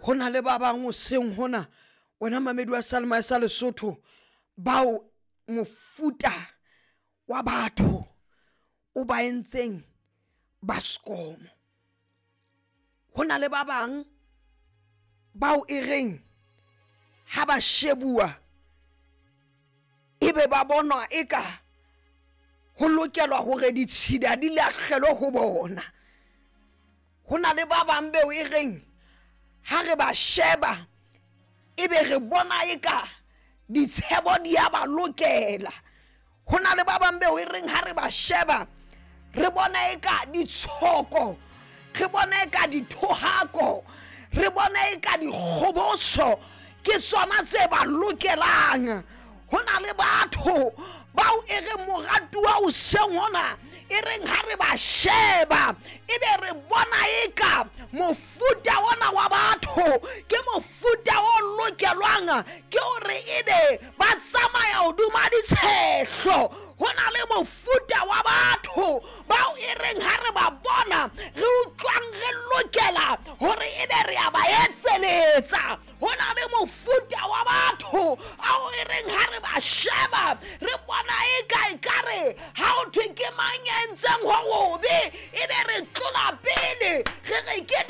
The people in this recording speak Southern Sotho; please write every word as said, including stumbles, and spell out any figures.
Ho na le ba bang hoseng hona, wena mamedi wa Salma sa Lesotho, bao mofuta wa batho o ba entseng ba sekomo. Ho na le ba bang bao e reng ha ba shebuwa ebe ba bonwa eka ho lokelwa hore ditshila di lahlelwe ho bona. Ho na le ba bang beo e reng ha re ba sheba ebe re bona eka ditshebo di a ba lokela. Ho na le ba bang beo e reng ha re ba sheba re bona eka ditshoko, re bona eka dithohako, re bona eka dikgoboso ke tsona tse ba lokelang. Ho na le batho bao e reng moratuwa hoseng hona, e reng ha re ba sheba ebe re bona eka mofuta ona wa batho ke mofuta o lokelwang ke hore ebe ba tsamaya hodima ditshehlo. Ho na le mofuta wa batho bao e reng ha re ba bona re utlwang re lokela hore ebe re a ba etseletsa. Ho na le mofuta wa batho ao e reng ha re ba sheba re bona eka ekare ha ho thwe ke mang ya entseng ho hobe, ebe re tlola pele re re ke